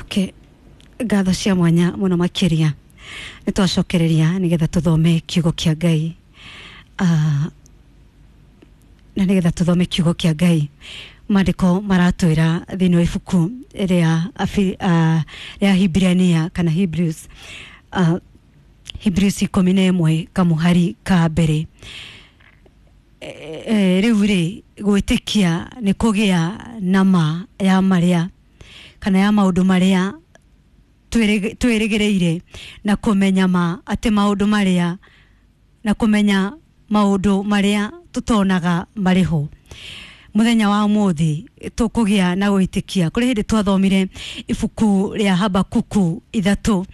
Okay, ngatho cia mwanya muno makiria nĩ twacokereria nĩgetha tũthome kiugo kĩa Ngai. Na nĩgetha tũthome kiugo kĩa Ngai, maandĩko maratwĩra thĩinĩ wa ibuku rĩa rĩa Hibrania kana Hebrews, Hebrews 11 kamuhari ka mbere. Rĩu rĩ, gwĩtĩkia nĩ kũgĩa na ma ya marĩa kana ya maũndũ marĩa twĩrĩgĩrĩire, na kũmenya ma atĩ maũndũ marĩa, na kũmenya maũndũ marĩa tũtonaga marĩ ho. Mũthenya wa ũmũthĩ tũkũgĩa na gwĩtĩkia. Kũrĩ hĩndĩ twathomire ibuku rĩa Habakuku 3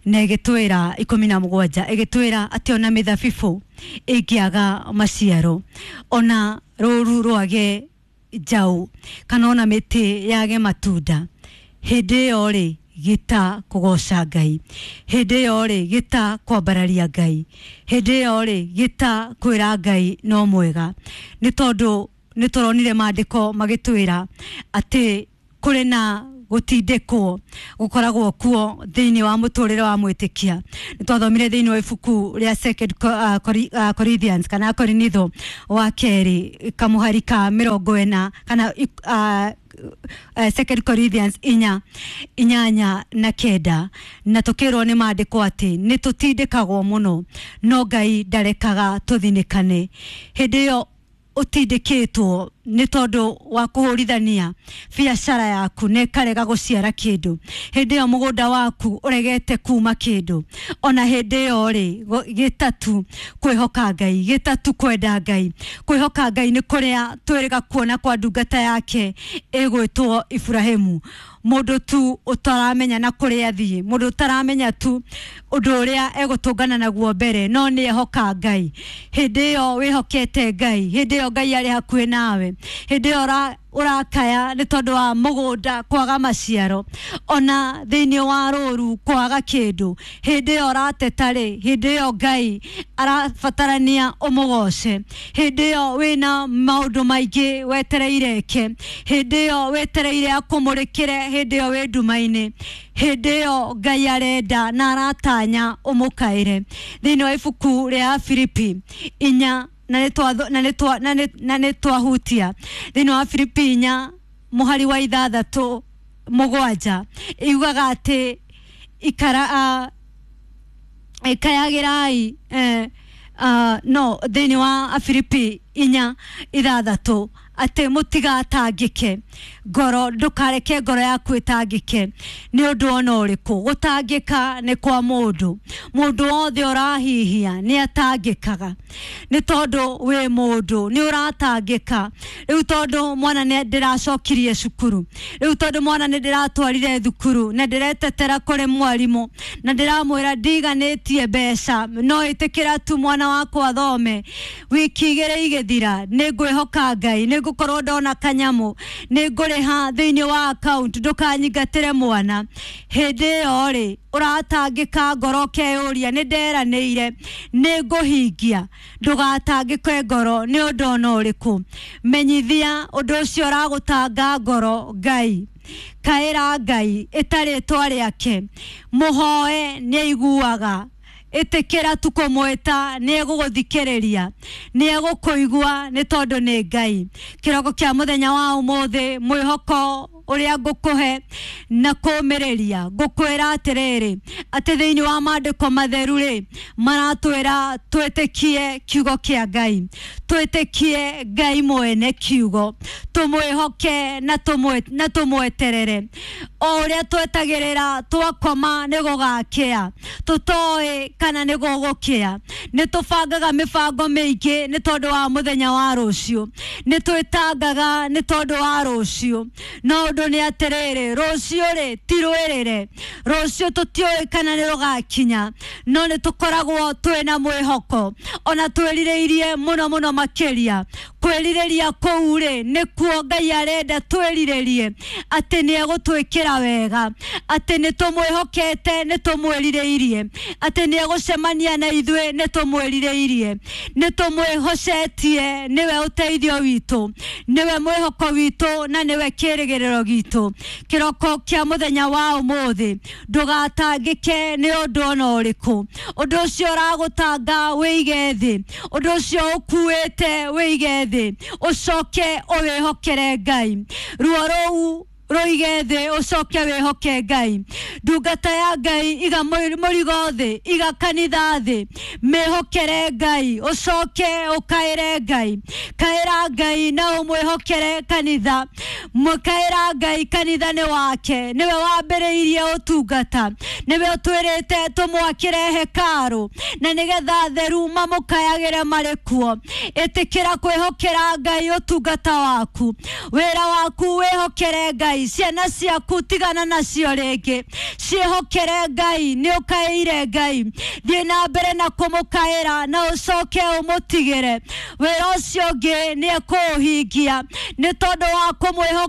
na ĩgĩtwĩra 17, ĩgĩtwĩra atĩ ona mĩthabibũ ĩngĩaga maciaro, ona rũru rwage njaũ, kana ona mĩtĩ yage matunda, hĩndĩ ĩyo rĩ, gĩta kũgoca Ngai, hĩndĩ ĩyo rĩ, gĩta kwambararia Ngai, hĩndĩ ĩyo rĩ, gĩta kwĩra Ngai no mwega. Nĩ tondũ nĩ tũronire maandĩko magĩtwĩra atĩ kũrĩ na gũtindĩkwo gũkoragwo kuo thĩinĩ wa mũtũrĩre wa mwĩtĩkia. Nĩ twathomire thĩinĩ wa ibuku rĩa Second Corinthians kana Korinitho wa kerĩ kamũhari ka 40, kana Second Corinthians 4 8 na 9, na tũkĩrwo nĩ maandĩko atĩ nĩ tũtindĩkagwo mũno, no Ngai ndarekaga tũthinĩkane. Hĩndĩ ĩyo ũtindĩkĩtwo nĩ tondũ wa kũhũrithania biacara yaku na ĩkarega gũciara kĩndũ, hĩndĩ ĩyo mũgũnda waku ũregete kuma kĩndũ, ona hĩndĩ ĩyo rĩ, gĩtatu kwĩhoka Ngai, gĩtatu kwenda Ngai. Kwĩhoka Ngai nĩ kũrĩa twĩrĩga kuona kwa ndungata yake ĩgwĩtwo Iburahĩmu, mũndũ tu ũtaramenya na kũrĩa athiĩ, mũndũ ũtaramenya tu ũndũ ũrĩa egũtũngana naguo mbere, no nĩ ehoka Ngai. Hĩndĩ ĩyo wĩhokete Ngai, hĩndĩ ĩyo Ngai arĩ hakuhĩ nawe, hĩndĩ ĩyo ũrakaya nĩ tondũ wa mũgũnda kwaga maciaro, ona thĩinĩ wa rũru kwaga kĩndũ, hĩndĩ ĩyo ũrateta rĩ, hĩndĩ ĩyo Ngai arabatarania ũmũgoce. Hĩndĩ ĩyo wĩna maũndũ maingĩ wetereire eke, hĩndĩ ĩyo wetereire akũmũrĩkĩre, hĩndĩ ĩyo wĩ nduma-inĩ, hĩndĩ ĩyo Ngai arenda na aratanya ũmũkaĩre. Thĩinĩ wa ibuku rĩa Filipi 4, na nĩ twatho- na nĩ twa- na nĩ- na nĩ twahutia thĩinĩ wa Filipi 4 mũhari wa 6 7, iugaga atĩ ikara kayagĩrai, no thĩinĩ wa Filipi 4:6, atĩ mũtigatangĩke ngoro, ndũkareke ngoro yaku ĩtangĩke nĩ ũndũ ona ũrĩkũ. Gũtangĩka nĩ kwa mũndũ, mũndũ wothe ũrahihia nĩ atangĩkaga, nĩ tondũ wĩ mũndũ nĩ ũratangĩka. Rĩu tondũ mwana nĩ ndĩracokirie cukuru, rĩu tondũ mwana nĩ ndĩratwarire thukuru na ndĩretetera kũrĩ mwarimũ na ndĩramwĩra ndiganĩtie mbeca, no ĩtĩkĩra tu mwana wakwa athome, wiki 2 igĩthira nĩ ngwĩhoka Ngai, nĩ ngũkorwo ndona kanyamũ, nĩ ngũrĩha thĩinĩ wa account, ndũkanyingatĩre mwana. Hĩndĩ ĩyo rĩ, ũratangĩka ngoro ũkeyũria, nĩ nderanĩire nĩ ngũhingia. Ndũgatangĩke ngoro nĩ ũndũ ona ũrĩkũ. Menyithia ũndũ ũcio ũragũtanga ngoro Ngai, kaĩra Ngai ĩtarĩtwa rĩake, mũhoe, nĩ aiguaga. Ĩtĩkĩra tu kũmwĩta, nĩ egũgũthikĩrĩria, nĩ egũkũigua, nĩ tondũ nĩ Ngai. Kĩroko kĩa mũthenya wa ũmũthĩ, mwĩhoko ũrĩa ngũkũhe na kũmĩrĩria, ngũkwĩra atĩrĩrĩ, atĩ thĩinĩ wa maandĩko matheru rĩ, maratwĩra twĩtĩkie kiugo kĩa Ngai, twĩtĩkie Ngai mwene kiugo, tũmwĩhoke na tũmweterere. O ũrĩa twetagĩrĩra, twakoma nĩ gũgakĩa, tũtoĩ kana nĩ gũgũkĩa. Nĩ tũbangaga mĩbango mĩingĩ nĩ tondũ wa mũthenya wa rũciũ, nĩ twĩtangaga nĩ tondũ wa rũciũ, no ũndũ nĩ atĩrĩrĩ, rũciũ rĩ ti rwĩrĩre, rũciũ tũtiũĩ kana nĩ rũgakinya, no nĩ tũkoragwo twĩna mwĩhoko ona twĩrirĩirie mũno mũno makĩria. Kwĩrirĩria kũu rĩ nĩkuo Ngai arenda twĩrirĩrie atĩ nĩ egũtwĩkĩra wega, atĩ nĩ tũmwĩhokete, nĩ tũmwĩrirĩirie, atĩ nĩ egũcemania na ithuĩ, nĩ tũmwĩrirĩirie, nĩ tũmwĩhocetie. Nĩwe ũteithio witũ, nĩwe mwĩhoko witũ, na nĩwe kĩĩrĩgĩrĩro gitũ. Kĩroko kĩa mũthenya wa ũmũthĩ, ndũgatangĩke nĩ ũndũ ona ũrĩkũ. Ũndũ ũcio ũragũtanga wĩige thĩ, ũndũ ũcio ũkuĩte wĩige thĩ, ũcoke ũwĩhokere Ngai. Ruo rũu rũige thĩ, ũcoke wĩhoke Ngai. Ndungata ya Ngai, iga mũrigo thĩ, iga kanitha thĩ, mĩhokere Ngai, ũcoke ũkaĩre Ngai. Kaĩra Ngai na ũmwĩhokere kanitha. Mũkaĩra Ngai, kanitha nĩ wake, nĩwe wambĩrĩirie ũtungata, nĩwe ũtwĩrĩte tũmwakĩre hekarũ na nĩgetha theru mamũkayagĩre marĩ kuo. Ĩtĩkĩra kwĩhokera Ngai ũtungata waku, wĩra waku wĩhokere Ngai, ciana ciaku tigana nacio rĩngĩ, ciĩhokere Ngai. Nĩ ũkaĩire Ngai, thiĩ na mbere na kũmũkaĩra na ũcoke ũmũtigĩre wĩra ũcio ũngĩ, nĩ ekũũhingia. Nĩ tondũ wa kũmwĩhoka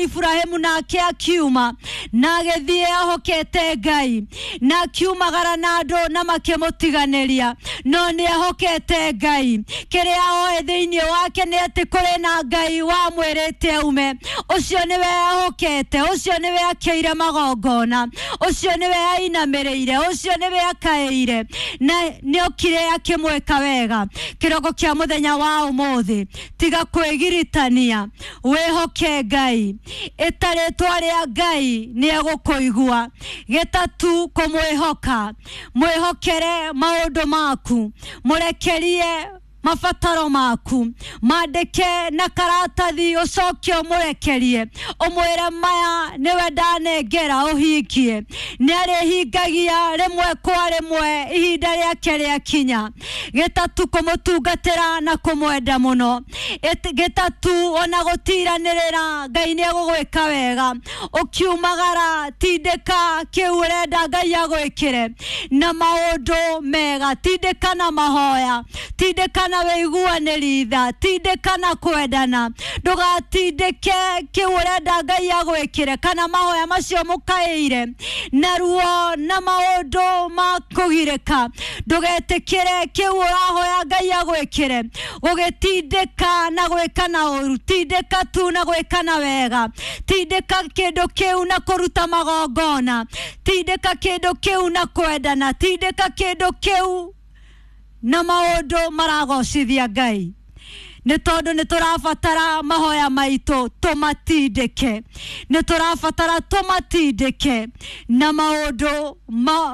Iburahĩmu, nake akiuma na agĩthiĩ ahokete Ngai, na akiumagara na andũ na makĩmũtiganĩria, no nĩ ehokete Ngai. Kĩrĩa oĩ thĩinĩ wake nĩ atĩ kũrĩ na Ngai wamwĩrĩte aume. Ũcio nĩwe ehokete, ũcio nĩwe akĩire magongona, ũcio nĩwe ainamĩrĩire, ũcio nĩwe akaĩire, na nĩ okire akĩmwĩka wega. Kĩroko kĩa mũthenya wa ũmũthĩ, tiga kwĩgiritania, wĩhoke Ngai. Ĩta rĩtwa rĩa Ngai, nĩ egũkũigua. Gĩtatu, kũmwĩhoka. Mwĩhokere maũndũ maku, mũrekerie mabataro maku, mandĩke na karatathi, ũcoke ũmũrekerie, ũmwĩre maya nĩwe ndanengera ũhingie. Nĩ arĩhingagia rĩmwe kwa rĩmwe ihinda rĩake rĩakinya. Gĩtatu, kũmũtungatĩra na kũmwenda mũno. Gĩtatu, ona gũtiranĩrĩra, Ngai nĩ egũgwĩka wega. Ũkiumagara, tindĩka kĩu ũrenda Ngai agwĩkĩre na maũndũ mega, tindĩka na mahoya, tindĩka na wĩiguanĩri tha, tindĩka na kwendana. Ndũgatindĩke kĩu ũrenda Ngai agwĩkĩre kana mahoya macio mũkaĩire na ruo na maũndũ ma kũgirĩka. Ndũgetĩkĩre kĩu ũrahoya Ngai agwĩkĩre gũgĩtindĩka na gwĩka na ũru. Tindĩka tu na gwĩka na wega, tindĩka kĩndũ kĩu na kũruta magongona, tindĩka kĩndũ kĩu na kwendana, tindĩka kĩndũ kĩu na maũndũ maragocithia Ngai, nĩ tondũ nĩ tũrabatara mahoya maitũ tũmatindĩke, nĩ tũrabatara tũmatindĩke na maũndũ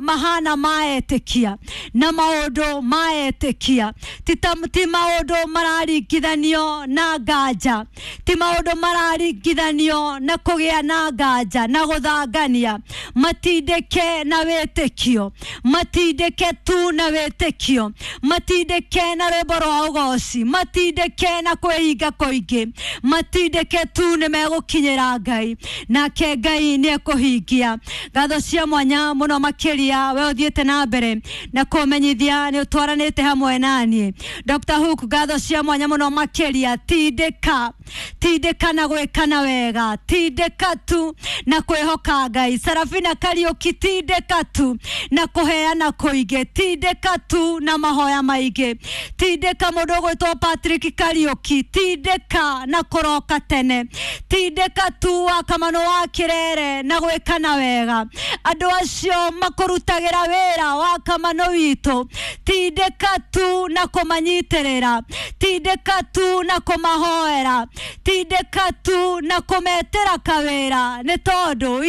mahana maetĩkia, na maũndũ maetĩkia, ti maũndũ mararingithanio na nganja, ti maũndũ mararingithanio na kũgĩa na nganja na gũthangania. Matindĩke na wĩtĩkio, matindĩke tu na wĩtĩkio, matindĩke na rwĩmbo rwa ũgoci, matindĩke na kwĩhinga kũingĩ, matindĩke tu, nĩ megũkinyĩra Ngai, nake Ngai nĩ ekũhingia. Ngatho cia mwanya mũno makĩria we ũthiĩte na mbere na kũmenyithia nĩ ũtwaranĩte hamwe naniĩ. Dr. Hook, ngatho cia mwanya mũno makĩria. Tindĩka, tindĩka na gwĩkana wega, tindĩka tu na kwĩhoka Ngai. Sarafina Kariũki, tindĩka tu na kũheana kũingĩ, tindĩka tu na mahoya maingĩ. Tindĩka mũndũ ũgwĩtwo Patrick Kariũki, tindĩka na kũroka tene, tindĩka tu wa Kamano wa Kĩrere na gwĩkana wega. Andũ acio makũrutagĩra wĩra wa Kamano witũ, tindĩka tu na kũmanyitĩrĩra, tindĩka tu na kũmahoera, tindĩka tu na kũmetĩra kawĩra, nĩ tondũ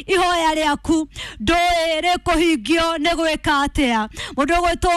ihoya rĩaku ndũĩ rĩkũhingio nĩ gwĩka atĩa. Mũndũ ũgwĩtwo.